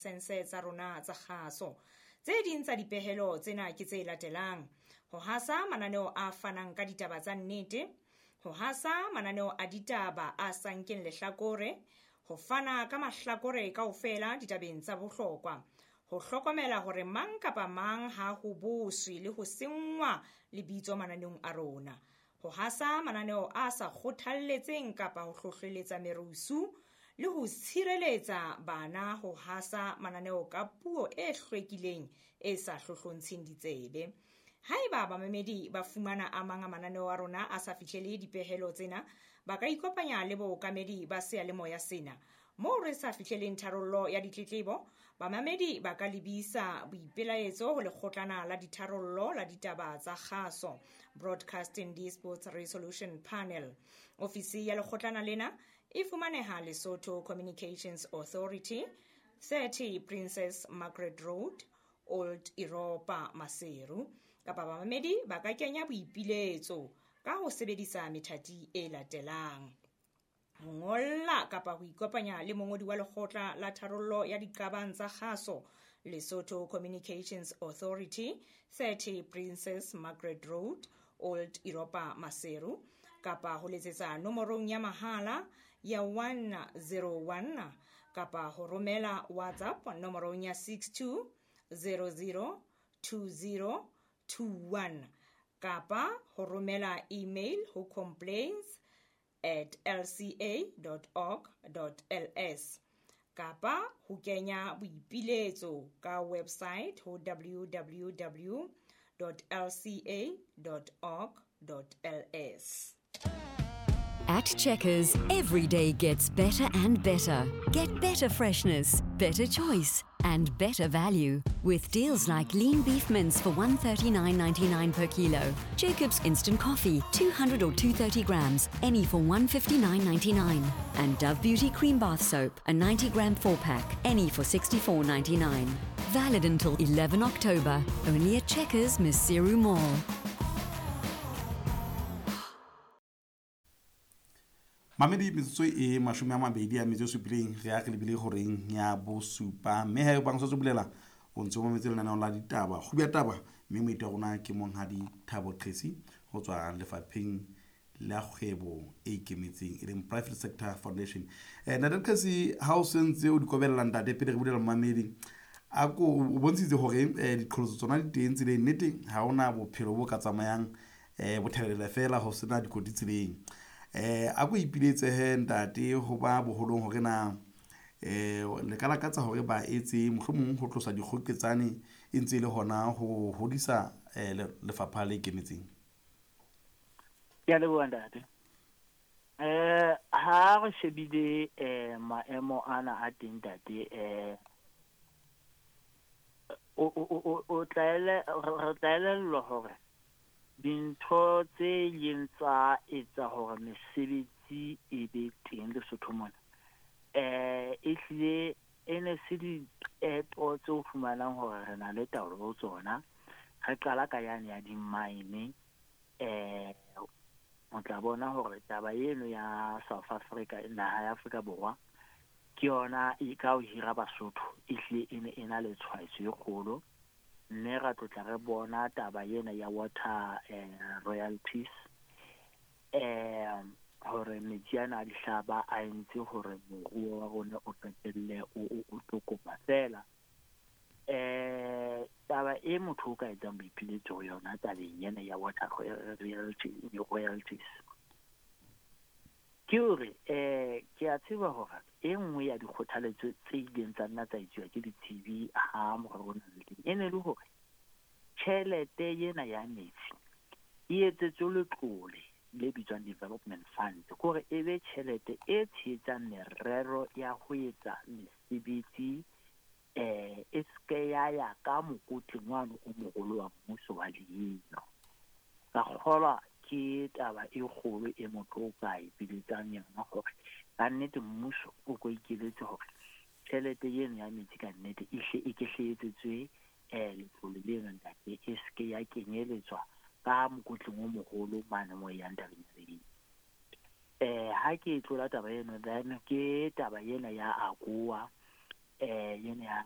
Sense tsa rona tsa kgaso. Tse ding tsa dipehelo tsena ke tse latelang: ho hasa mananeo a fanang ka ditaba tsa nnete, ho hasa mananeo a ditaba a sa nkeng lehlakore, ho fana ka mahlakore kaofela ditabeng tsa bohlokwa, ho hlokomela hore mang kapa mang ha ho boswe le ho senngwa lebitso mananeong a rona, ho hasa mananeo a sa kgothalletseng kapa ho hlohleletsa merusu, le ho tshireletsa bana ho hasa mananeo ka puo e hlwekileng e sa hlohlontsheng ditsebe. Haeba bamamedi ba fumana a mang a mananeo a rona a sa fihlele dipehelo tsena, ba ka ikopanya le bookamedi ba seyalemoya sena. Moo re sa fihleleng tharollo ya ditletlebo, bamamedi ba ka lebisa boipelaetso ho lekgotlana la ditharollo la ditaba tsa kgaso, Broadcasting Disputes Resolution Panel. Ofisi ya lekgotlana lena e fumaneha Lesotho Communications Authority, 30 Princess Margaret Road, Old Europa, Maseru. Kapa bamamedi ba ka kenya boipiletso ka ho sebedisa methati e latelang: ho ngolla kapa ho ikopanya le mongodi wa lekgotla la tharollo ya diqabang tsa kgaso, Lesotho Communications Authority, 30 Princess Margaret Road, Old Europa, Maseru, kapa ho letsetsa nomorong ya mahala ya 101, kapa ho romela WhatsApp nomorong ya 62 00 20 21, kapa ho romela email ho complaints@lca.org.ls, kapa ho kenya boipiletso ka website ho www.lca.org.ls. At Checkers, every day gets better and better. Get better freshness, better choice, and better value with deals like lean beef mince for $139.99 per kilo, Jacob's instant coffee 200 or 230 grams, any for $159.99, and Dove Beauty cream bath soap, a 90 gram 4-pack, any for $64.99. Valid until 11 October, only at Checkers Maseru Mall. Mamedi, metsotso e 27 re ya re lebile horeng ya bosupa, mme ha e bang sotso bolela o ntse o mametse lenaneo la ditaba kgubi ya taba, mme moeti wa rona ke monghadi Thabo Qesi ho tswa lefapheng la kgwebo e ikemetseng e leng Private Sector Foundation. Ntate Qesi, ha o sentse o di kobella ntate pele re bulela mamedi, a ko o bontshitse hore diqholotso tsona di teng tseleng, nnete ha hona bophelo bo ka tsamayang bothelela fela ho sena dikoti tseleng. A ko ipiletse he ntate ho ba boholong hore na le ka lakatsa hore ba etse mohlomong ho tlosa dikgoketsane e ntse e le hona ho hodisa lefapha le ikemetseng. Ke a leboha ntate. Ha re shebile maemo ana a teng ntate, o re tla elellwa hore dintho tse ileng tsa etsa hore mesebetsi e be teng Lesotho mona, ehlile e ne se diqeto tse o fumanang hore re na le taolo ho tsona. Re qala ka yane ya di-mine, o tla bona hore taba eno ya South Africa, naha ya Afrika Borwa, ke yona e ka ho hira Basotho ehlile e ne e na le tshwaetso e kgolo. Mme ra tlotla re bona taba ena ya water royalties, hore metsi ana a dihlaba a entse hore moruo wa rona o qetelle o tlokopa fela. Taba e motho o ka etsang boipiletso ho yona tabeng ena ya water royalties ke hore ke a tseba hore e nngwe ya dikgothaletso tse ileng tsa nna tsa etsuwa ke ditsebi ha morero ona le teng, e ne le hore tjhelete ena ya metsi e etsetswe letlole le bitswang development fund, ke hore e be tjhelete e tshehetsang merero ya ho etsa mesebetsi, e se ya ya ka mokotleng wane o moholo wa mmuso wa leino. Ka kgolwa ke taba e kgolo e motho o ka ipiletsang yona hore ka nnete mmuso o ko ikeletse hore tjhelete eno ya metsi ka nnete e hle e ke hle etsetswe letlole leno ntate, e se ke ya kenyeletswa ka mokotleng o moholo mane mo e yang tabeng ya leino. Ha ke e tlola taba eno, then ke taba ena ya AGOA, Ena ya